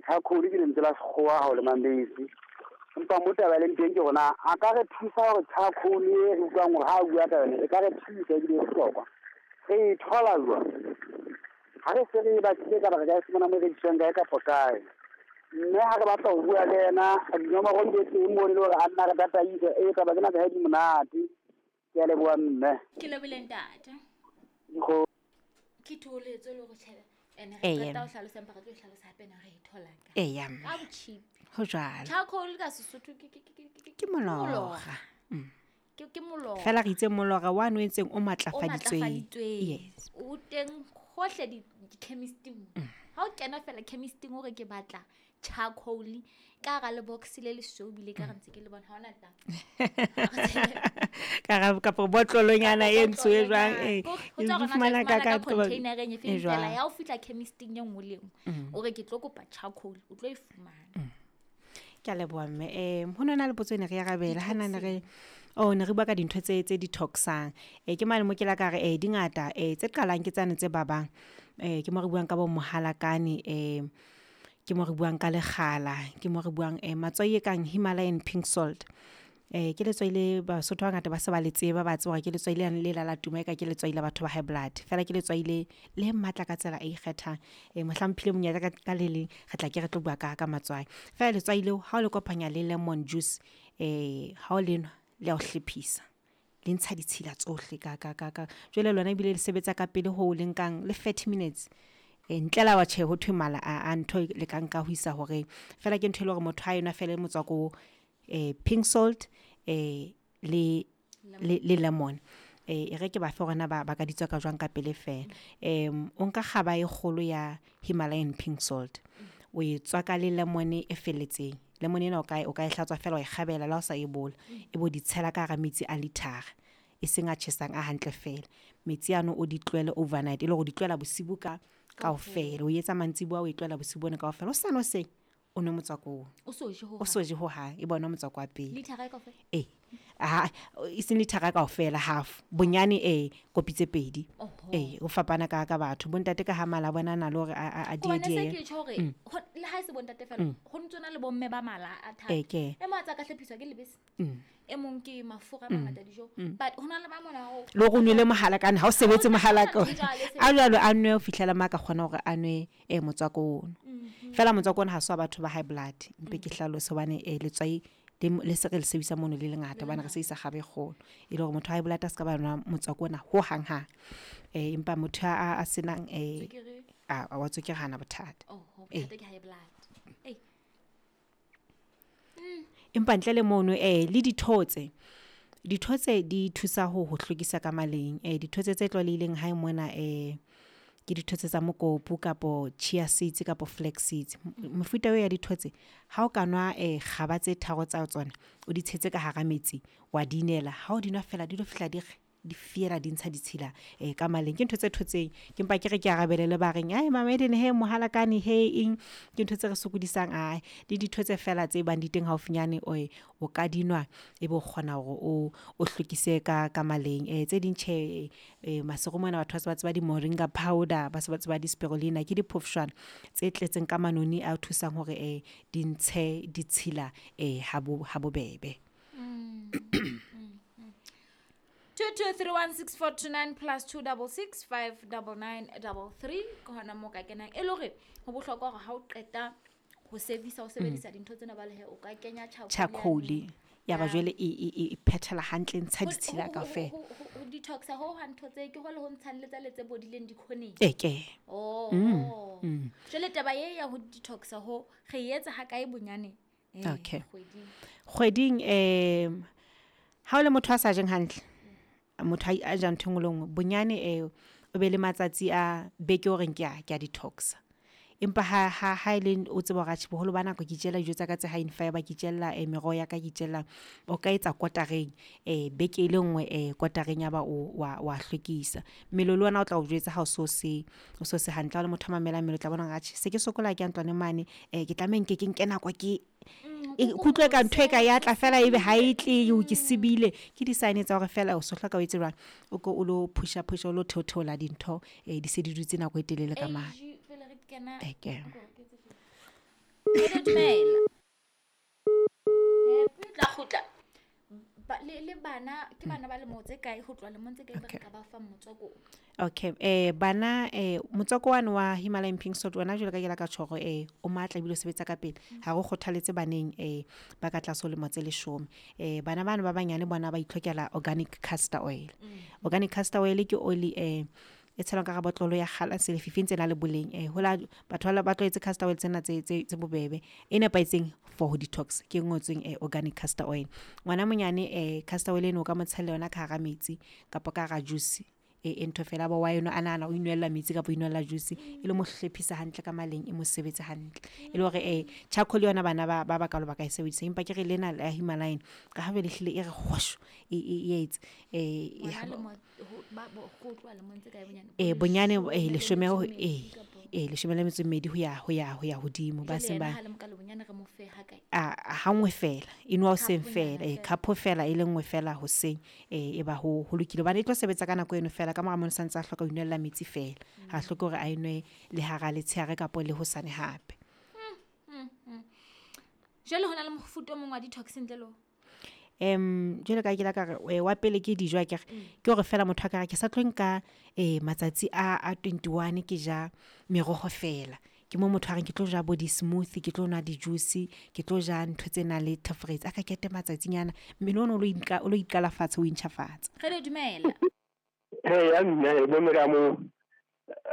Charcoal ke lentswe la sekgowa ha o le mambesi. Empa mo taba e leng teng ke hore na a ka re thusa hore charcoal e re utlwang hore ha a bua ka yone e ka re thusa ebile e bohlokwa. Re e thola jwang? Ha re se re e batlile kapa re ka e fumana mo e rekiswang kae kapa kae? Mme ha re batla ho bua le yena dinomoro di be teng mono e le hore a nna re tataise. Ee, taba tsena tsa hae di monate. Ke a leboha mme. Ke lebohile ntate. Dikgo. Ke thoholetso le hore tjhe ene re Eya. qeta ho hlalosa empa re tlo e hlalosa hape na re e thola kae. Eya mme. Ka bocheap. Ho jwalo. Charcoal ka Sesotho ke ke ke ke ke Ke molora. Ke molora. Fela re itse molora wa no entseng o O matlafaditsweng. matlafaditsweng. Yes. O teng hohle di di-chemisting. Ha o kena fela chemisting o re ke batla charcoal ka hara le box le lesweu ebile ka re ntse ke le bona ha hona taba. Ka ra kapa botlolonyana e ntsho e jwang eh. Ho E tswa hore na fumana tla e ka fumana ka ka container-eng e e feng fela. jwang. Ya o fihla chemisting e nngwe le e nngwe. O re ke tlo kopa charcoal o tlo e fumana. Ke a leboha mme. Ho no na le potso e ne re arabela ha na ne re oh ne re bua ka dintho tse tse detoxang. Ke mane mo ke la ka re di ngata tse qalang ke tsane tse babang. Ke mo re buang ka bo mohalakane ke mo re buang ka lekgala, ke mo re buang matswai e kang Himalayan pink salt. Ke letswai le Basotho ba bangata ba se ba le tseba, ba tseba hore ke letswai lane le la la tuma eka ke letswai la batho ba high blood. Fela ke letswai le le matla ka tsela e ikgethang. Mohlang mphile monyetla ka ka le leng re tla ke re tlo bua ka ka matswai. Fela letswai leo ha o le kopanya le lemon juice ha o le nwa le ya o hlephisa. Le ntsha ditshila tsohle ka ka ka ka. Jwale lona ebile le sebetsa ka pele ho le nkang le 30 minutes. Ntle le ha tjhe ho thwe mala a ntho le ka nka ho isa horeng. Fela ke ntho e leng hore motho ha enwa fela motswako pink salt le le lemon. E re ke ba fe hore na ba ka di tswaka jwang ka pele fela. O nka kgaba e kgolo ya Himalayan pink salt. O e tswaka le lemon e felletseng. Lemon ena o ka e hlatswa fela wa e kgabela le ha o sa e bola. E bo di tshela ka hara metsi a lithara. E seng a tjhesang a hantle fela. Metsi ano o di tlohele overnight e le hore o di tlohela bosibu ka kaofela. O etsa mantsiboya o e tlohela bosibu bona kaofela. Hosane hoseng o nwe motswako oo. O so je ho O so je hohang, e bona motswako wa pele. Lithara e kaofela? Eh. Ha e seng lithara kaofela half. Bonyane kopi tse pedi. Oho. Eh o fapana ka ka batho. Bontate ka ha mala a bona a na le hore a Hobane se die ke tjho hore le ha e se bontate fela ho ntso na le bomme ba mala a thata. Eh, ke. E mong a tsa ka hlophiswa ke lebese. E mong ke mafura a mangata dijo. But ho na le ba mona ho Le hore o nwele mohalakane ha o sebetse mohalaka. Ho jwalo, A jwalo a nwe ho fihlela ma ka kgona hore a nwe motswako ono. Fela motswako ona ha se wa batho ba high blood. Mpe ke hlalose hobane letswai le se re le sebedisa mono le lengata hobane re sebedisa kgaba e kgolo. E le hore motho wa high blood a ska ba nwa motswako ona ho hang hang. Empa motho a senang Tswekere. a wa tswekere hana bothata. Oho, Eh. bothata ke high blood. Ei. Empa ntle le mono le dithotse. Dithotse di thusa ho hlwekisa ka maleng. Dithotse tse tlwaelehileng hae mona ke dithotse tsa mokopu kapo chia seeds kapo flax seeds. Mefuta eo ya dithotse ha o ka nwa kgaba tse tharo tsa tsona o di tshetse ka hara metsi wa di inela. Ha o di nwa fela di lo fihla di re di fiela di ntsha ditshila ka maleng. Ke ntho tse thotseng. Ke mpa ke re ke arabele le ba reng ai Mama Eden he mohalakane he eng. Ke ntho tse re sokodisang ai le dithotse fela tse bang di teng haufinyane o ka di nwa e be o kgona hore o hlwekise ka maleng. Tse ding tjhe masero mona batho ba se ba tseba di moringa powder, ba se ba tseba di spirulina, ke diphofshwana tse tletseng ka manoni a thusang hore di ntshe ditshila ha bobebe. 22316429 plus two double six five double nine double three ke hona moo ka kenang. E le hore ho bohlokwa hore ha o qeta ho servisa, ho sebedisa dintho tsena ba le he, o ka kenya charcoal Charcoal. yane. Ya ba Ya. jwale e phethela hantle, e ntsha Ho- ditshila kaofela. ho detoxa ho ha ntho tse ke ho le ho ntshang le tsa le tse bodileng dikhoneng. E ke. Oh. Jwale taba e ya ho detoxa ho re e etsa ha kae bonyane? Okay. Kgweding. Kgweding ha o le motho a sa jeng hantle, motho a jang ntho e nngwe le nngwe, bonyane o be le matsatsi a beke o reng ke a detoxa. Empa ha e le o tseba hore atjhe boholo ba nako ke itjella dijo tsa ka tse high in fiber, ke itjella meroho ya ka, ke itjella, o ka etsa kotareng beke e le nngwe kotareng ya ba o wa hlwekisa. Mmele le wena o tla o jwetsa ha o so se, o so se hantle. Ha o le motho a mamelang mmele o tla bona hore atjhe se ke sokola ke ya ntlwaneng mane ke tlameha nke ke nke nako ke e kutlwe ka ntho e ka ya tla fela ebe ha e tle, o ke sebile. Ke di-sign tsa hore fela o so hloka o etse jwang, o ko o lo pusha pusha, o lo theotheola dintho di se di dutse nako e telele ka mane. Age, pele re kena Eke. Ko re ke tse feng? Re dumela. Happy o tla kgutla. Le bana ke bana ba lemo tse kae, ho tloha lemong tse kae ba re ka ba fa motswako? Okay, bana, motswako wane wa Himalayan pink salt wona, jwalo ka ke la ka tjho hore o matla ebile o sebetsa ka pele, ha re kgothaletse baneng ba ka tlase ho lemo tse 10. Bana bana ba banyane bona ba itlhokela organic castor oil. Organic castor oil ke oli e tshelwang ka hara botlolo ya kgalase, lefifi, ntse na le boleng. Hola batho ba tlwaetse castor oil tsena tse bobebe, e nepahetseng for ho detox ke e ngotsweng organic castor oil. Ngwana monyane, castor oil eno o ka mo tshella yona ka hara metsi kapa ka hara juice, e ntho fela ba wa eno a nahana o inwella metsi kapa o inwella juice, e le mo hlephisa hantle ka maleng, e mo sebetse hantle. E le hore charcoal yona bana ba bakalo ba ka e sebedisa, empa ke re lena la Himalayan ka ha jwale ehlile e re hwasho e etse Ngwana lemo ho tloha lemong tse kae bonyane? Bonyane 12 leshome metso e mmedi kapa? 12 ho ya hodimo ba Jwale seng yena ba ha le mokalo bonyane re mo fe ha kae? A ha nngwe fela e nwa hoseng Cup-onyana fela, fela. Cup fela e le nngwe fela hoseng, e ba ho lokile hobane e tlo sebetsa ka nako eno fela. Ka mora mono santse a hloka ho inwella metsi fela, ha hloke hore a enwe le hara letshehare kapa le hosane hape. Jwale ho na le mofuta o mong wa detox ntle le o? Jwalo ka ke la ka re, wa pele ke dijo akere, ke hore fela motho a ka re ke sa tlo nka matsatsi a 21 ke ja meroho fela. Ke mo motho a reng ke tlo ja bo di-smoothie, ke tlo nwa di-juice, ke tlo ja ntho tse nang le thefuretsi, a ka kete matsatsinyana mmele ono o lo iqala fatshe, o intjhafatsa. Re le dumela. Hey, ya mme, bo mme ka mo.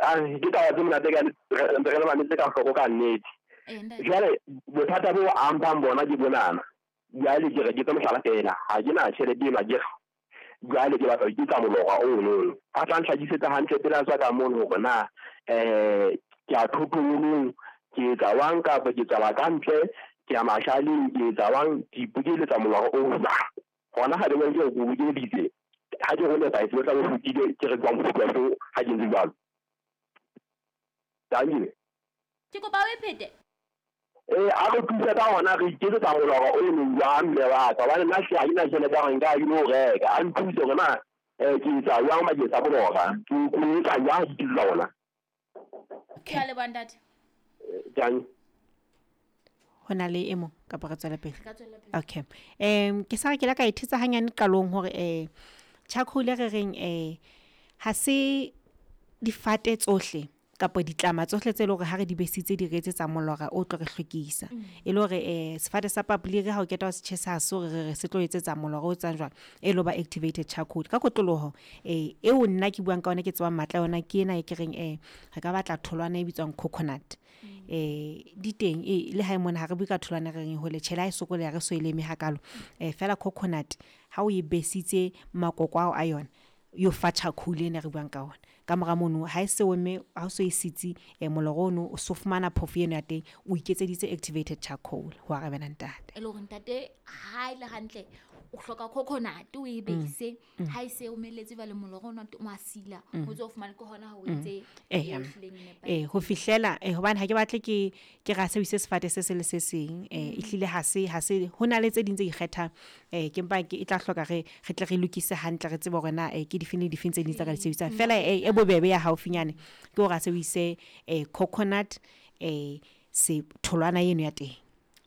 Ah, ke taba tse monate ka re le mametse ka hloko ka nnete. Ntate. Jwale bothata bo amphang bona ke bonana. Jwale ke re ke tse mohlala fela, ha ke na tjhelete eno akere. Jwale ke batla ho iketsa molora ono. A tla ntlhakisetsa hantle pele a tswa ka mono hore na ke a thotolong, ke etsa wang kapa ke tswela ka ntle, ke ya mashaleng, ke etsa wang, ke ipokeletsa molora o jwang. Hona ha ke ke o bokeleditse, ha ke ho nepahetse, o tla bo fetile, ke re jwang mofuta so ha ke ntse jwalo. Thank you. Ke kopa o e phete. A re thusa ka hona re iketsetsa molora o leng jwang mme wa ka, hobane nna hle ha ke na tjhelete ya hore nka ya ke lo reka. A nthuse hore na ke etsa jwang bakeng sa molora, ke etsa jwang ha ke iketsetsa ona. Ke a leboha ntate. Jang? Ho na le e mong kapa re tswele pele? Re ka tswela pele. Okay. Ke sa re ke la ka e thetsa hanyane qalong hore charcoal e re reng ha se difate tsohle kapa ditlama tsohle tse leng hore ha re di besitse di re etsetsa molora o tlo re hlwekisa. E le hore sefate sa papoliri ha o keta ho se tjhesa ha se hore re re se tlo etsetsa molora o etsang jwang, e lo ba activated charcoal. Ka kotloloho eo nna ke buang ka yona, ke tsebang matla a yona, ke ena e ke reng re ka batla tholwana e bitswang coconut. Di teng, le hae mona ha re bue ka tholwana re reng hole tjhe, le ha e sokoleha re so e leme hakalo. Fela coconut ha o e besitse makoko ao a yona, yo fa charcoal ena re buang ka ona. Ka mora mono ha e se omme, ha o so e sitse, molora ono o so fumana phofo eno ya teng, o iketseditse activated charcoal ho arabela ntate. E le hore ntate ha e le hantle o hloka coconut o e bese, ha e se omeletse jwale molora ono o a sila, o tso fumana ke hona ha o etse e hlileng e nepahetseng. Ho fihlela, hobane ha ke batle ke ra sebedise sefate se se le se seng, ehlile ha se ho na le tse ding tse ikgethang, ke mpa ke e tla hloka re tle re lokise hantle, re tsebe hore na ke difeng le difeng tse ding tsa ka di sebedisang. Fela e bobebe ya haufinyane ke hore a sebedise coconut, se tholwana eno ya teng.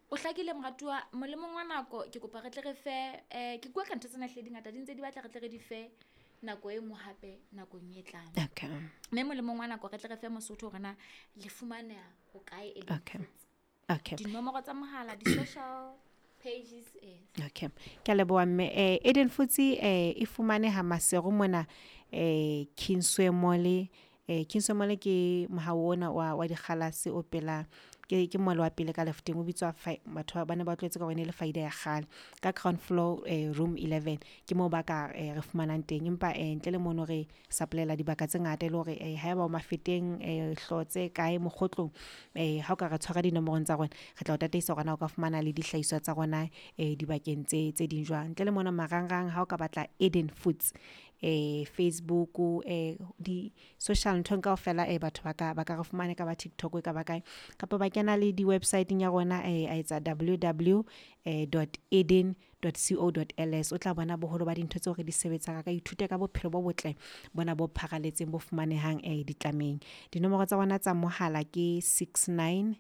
O hlakile moratuwa, molemong wa nako ke kopa re tle re fe, ke bua ka ntho tsena hle di ngata, di ntse di batla re tle re di fe nako e nngwe hape nakong e tlang. Mme molemong wa nako re tle re fe Mosotho hore na le fumaneha ho kae e leng Foods. Dinomoro tsa mohala, di-social pages. Okay. Ke a leboha mme. Eden Foods e fumaneha Maseru mona, Kingsway Mall. Kingsway Mall ke mohao ona wa dikgalase o pela, ke mall wa pele ka lefteng, o bitswa batho ba ne ba tlwaetse ka hore e ne le Faida ya kgale, ka ground floor, room 11 ke moo ba ka re fumanang teng. Empa ntle le mono re supplyela dibaka tse ngata, e le hore haeba o Mafeteng, Hlotse, kae, Mokgotlong, ha o ka re tshwara dinomorong tsa rona, re tla o tataisa hore na o ka fumana le dihlahiswa tsa rona dibakeng tse ding jwang. Ntle le mona marangrang, ha o ka batla Eden Foods, Facebook, di social nthong kaofela, batho ba ka re fumana, ka ba TikTok, ka ba kae, kapa ba kena le di website-eng ya rona, a etsa w w dot eden dot co dot l s. O tla bona boholo ba dintho tseo re di sebetsang, a ka ithuta ka bophelo bo botle bona bo pharaletseng bo fumanehang ditlameng. Dinomoro tsa rona tsa mohala ke six nine